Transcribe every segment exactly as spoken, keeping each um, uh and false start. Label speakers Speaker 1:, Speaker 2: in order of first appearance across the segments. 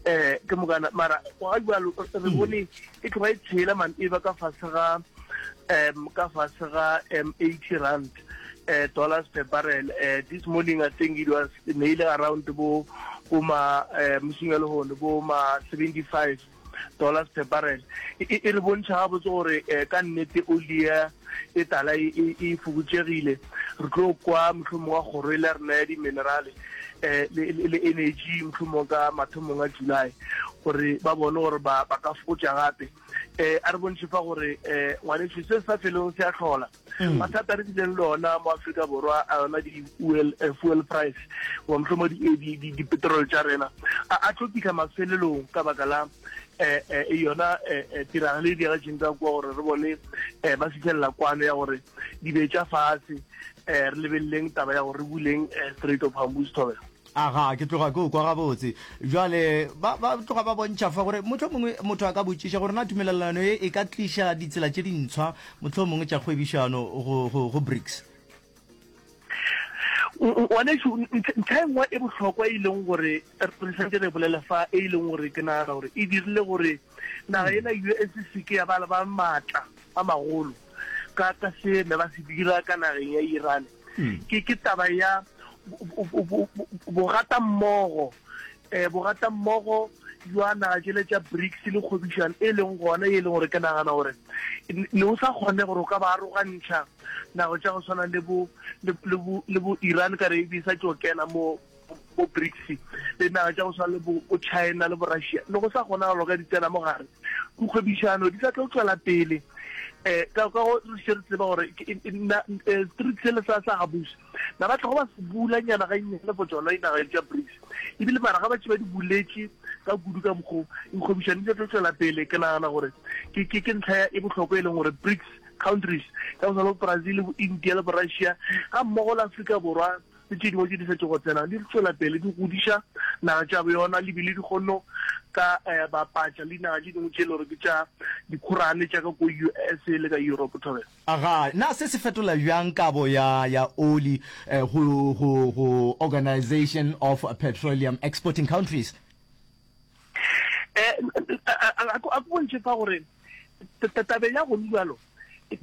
Speaker 1: um ke mokana mara ga jalo re bone e tloga e tshela man e ba ka fase ga um ka fase ga um eighty rand uh, dollars per barrel. uh, this morning I think it was neile around bo bo ma uh, mosing ya lehono bo ma seventy-five dollars per barrel. E e re bontšha gabotse gore eh, ka nnete oli ya e tala e e- e fokotšegile. Re tlo kwa mohlomong wa kgoro e le ya rena ya di-minerale eh le le- le energy mohlomong ka mathomong a July gore ba bone gore ba ba ka fokotša gape. eh a re bontšhe fa gore eh ngwaneso se sa felong se a hlola mathata re bileng le ona mo Afrika Borwa a yona di-fuel eh, fuel price goba mohlomong di- di- di- di-petrol tša rena a a tlo fihla mafelelong ka baka la eh eh yona eh, eh, tiragalo e diragetšeng ka kua gore re bone eh ba fitlhelela kwano ya gore di be tša fase. eh re lebeleleng taba ya gore re buleng eh, Strait of Hormuz, Thobela.
Speaker 2: Aga, ke tloga ke o kwa gabotse. Bjale ba ba tloga ba bontšha fa gore mohlomongwe motho a ka botšiša gore na tumelelano ye e ka tliša ditsela tše dintshwa mohlomongwe tša kgwebišano go go go BRICS.
Speaker 1: Ngwanešu, ntlha e nngwe e bohlokwa e leng gore re santse re bolela fa, e leng gore ke nagana gore e dirile gore naga ena U S se ke ya ba le ba maatla a magolo ka ka se ne ba se dira ka nageng ya Iran, ke ke taba ya bogatammogo um bogatammogo jwa naga tšele tša BRICS le kgwebišano e leng gona, e leng gore ke nagana gore ne o sa kgone gore o ka ba arogantšha nago tša go tshwana le bo le bo le bo Iran ka re e sa tšo kena mo bo BRICS, le naga tša go tshwana le bo China le bo Russia, le go sa kgonagalo ka di tsena mo gare dikgwebišano di sa tlo tswela pele. um ka ka go re še re tseba gore street sele sa sa Hormuz na ba tlogo ba se bula nyana ga nnyane for tsona dinaga tša BRICS, ebile mara ga ba tše ba di buletše ka kudu ka mokgo dikgwebišano di tlo tswela pele. Ke nagana gore ke ke ke ntlha e bohlokwa e leng gore BRICS countries ka go tshwana le Brazil, bo India le bo Russia ga mmogo le Afrika Borwa le tše dingwe tše di setse go tsena, di tswela pele di godiša naga tša yona, le bile di kgonno ka um bapatša le dinaga tše dingwe tše e le gore ke tša dikhorane tša ka ko U S le ka Europe, Thobela.
Speaker 2: Aga, na se se fetola bjang kabo ya ya oli eh, go go go Organization of Petroleum Exporting Countries?
Speaker 1: eh a ko bontšhe fa gore tabeng ya go jalo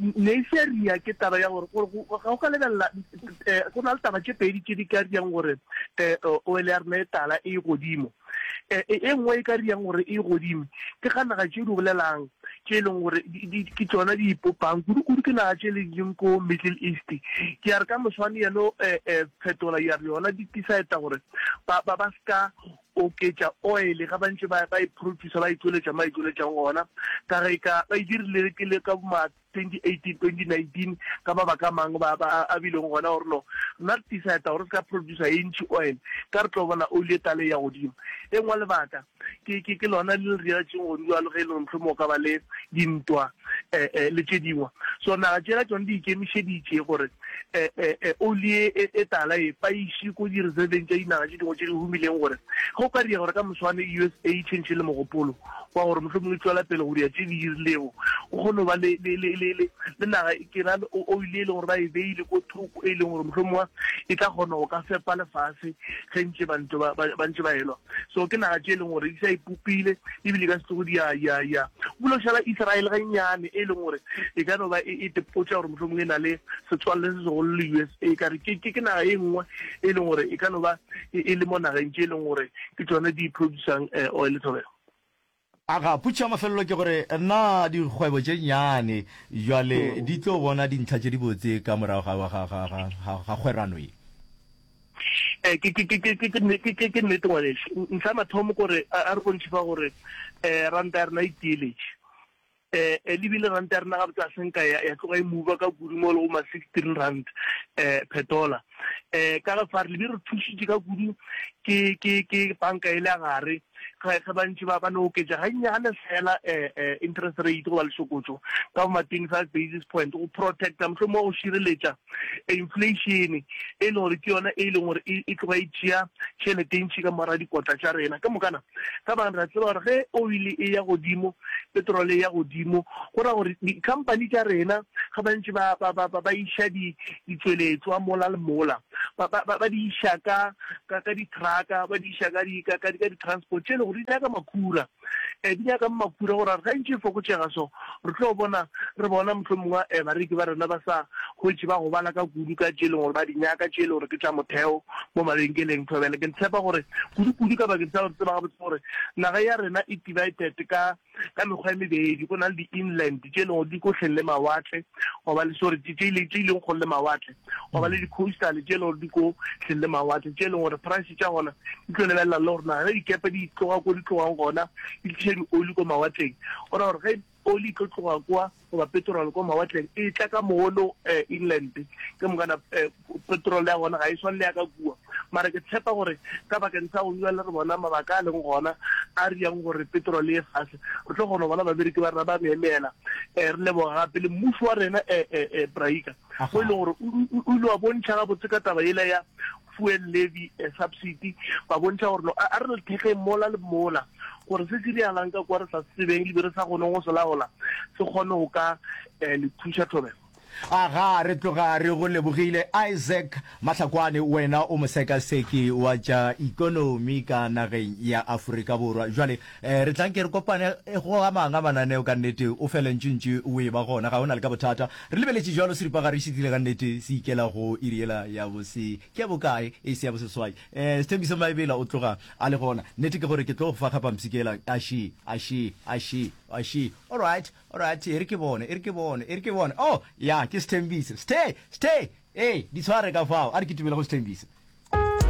Speaker 1: ne e se ria ke taba ya gore ga o ka lebelela go na le taba tše pedi tše di ka riang gore um oil ya rena e tala e godimo. E nngwe e ka riang gore e godimo ke ga naga tše di bolelang tše e leng gore ke tsona di ipopang kudu-kudu, ke naga tše le leng ko Middle East. Ke ya re ka moswane yeno um fetola ya re yona di decide gore ba ba ska oketša oil ga ba ntse ba e producer, ba e tsweletša ma e tsweletšang gona, ka ge ka ba e dirile ke le ka ma twenty eighteen, twenty nineteen, ka mabaka a mangwe ba ba a bileng gona gore no nna re decide gore se ka producer e ntši oil ka re tlo bona oli e tale ya godimo. E nngwe lebaka ke ke ke lona le le riatseng godimo jalo ge e le gore mohlomong o ka ba le dintwa um le tše dingwe. So naga tšela tsone di ikemišeditše gore um oli e e tala e ba iše ko di-reserveng tša dinaga tše dingwe tše di humileng, gore ge o ka ria gore ka moswane U S A e change le mogopolo wa gore mohlomongwe e tswela pele go dia tše di dirilego, o kgone go ba le le le le le le naga ke ra oil e leng gore ba e beile ko thoko, e leng gore mohlomongwe e tla kgona go ka fepa lefase ge ntše ba ntse ba ntse ba elwa. So ke naga tše e leng gore di sa ipopile, ebile ka setlogo di ya ya ya bulo šala Israel ga nnyane, e leng gore e ka no ba e tepotša gore mohlomongwe e na le setswalle se segolo le U S A, ka re ke ke naga e nngwe e leng gore e ka no ba e le mo nageng tše e leng gore ke tsone di producang oil, Thobela.
Speaker 2: Aga, potšišo ya mafelelo ke gore na dikgwebo tše nnyane jwale di tlo bona dintlha tše dibotse ka morago ga ga ga ga ga kgwerano ye?
Speaker 1: Eh ke ke ke ke ke ke ke nnete ngwaneso. Ntlha mathomo kore a re bontšhe fa gore eh ranta ya rena e tieletše, eh ebile ranta ya rena gabotse a senka ya ya tloga e mova ka kudu mo le go ma sixteen rand eh per dollar. eh ka ge fa re lebe re thušitše ka kudu ke ke ke banka e le ya gare ge ba ntše ba ba no oketša gannyane fela eh eh interest rate goba lešokotšo ka bo ma twenty-five basis point go protecta, mohlomongwe go šireletša inflation e leng gore ke yona e leng gore e tloga e tšea tšhelete e ntši ka mora dikotla tša rena ka mokana ka bang. Re tseba gore ge oil e ya godimo, petrol e ya godimo, go ra gore di-company tša rena ga ba ntše ba ba ba ba iša di ditsweletswa mola le mola. mola ba, ba, ba, ba di iša ka, ka, ka di-trucka, ba di iša ka di, ka, ka, ka di-transport tše e le gore di nyaka makhura. Um di nyaka makhura gore ga ntše e fokotšega so, re tlo bona, re bona mohlomongwe um bareki ba rena ba sa hwetše ba gobala ka kudu ka tše e leng gore ba di nyaka, tše e leng gore ke tša motheo mo mabenkeleng. Thobela, ke tshepa gore kudu-kudu ka bakeng sa gore tseba gabotse gore naga ya rena e divided ka ka mekgwa e mebedi, go na le di-inland tše e leng gore di ko hleng le mawatle, goba le sorry tše tše leng kgole le mawatle, goba le di-coastal tše e leng gore di ko hleng le mawatle, tše e leng gore price tša gona di tlo lebelela le gore na ge dikepe di tloga ko di tlogang gona di tliša di-oli ko mawatleng, go ra gore ge oli e tlo tloga kwa goba petrol ko mawatleng e tla ka mono eh, inland, ke mokana eh, petrol ya gona ga e swane le ya ka kua. Mara ke tshepa gore ka bakeng sa go bjale re bona mabaka a leng gona a riang gore petrol e fase, re tlo kgona go bona babereki ba rena ba meemela. um re leboga gape le mmušo wa rena um Braika, o e leng gore o ile wa bontšha gabotse ka taba yela ya fuel levy subsidy, ba bontšha gore no a re le thekgeng mola le mola gore se se diregalang ka kwa re sa se tsebeng le be re sa kgoneng go se laola se kgone go ka le thuša. Thobela.
Speaker 2: Aga, re tloga re go lebogile Isaac Mahlakwane, wena o mosekaseki wa tša ikonomi ka nageng ya Afrika Borwa. Jwale eh, re tla nke re kopane go a mang a mananeo ka nnete, o fele ntšintši o e ba gona, ga o na le ka bothata. Re lebeletše jwalo seripagare se tlile ka nnete se ikela go iri yela ya bose ke ya bokae, e se ya boseswai. Eh, Sethembiso Maebela o tloga a le gona. Nnete ke gore ke tlo go fa kgapampshikela. Aši, aši, aši, aši. All right. Alright, e re ke bone, e re ke bone, e re ke bone. Oh, ya, ke Sethembiso. Sthe, Sthe! Ee, di tshware ka fao. A re kitimele go Sethembiso.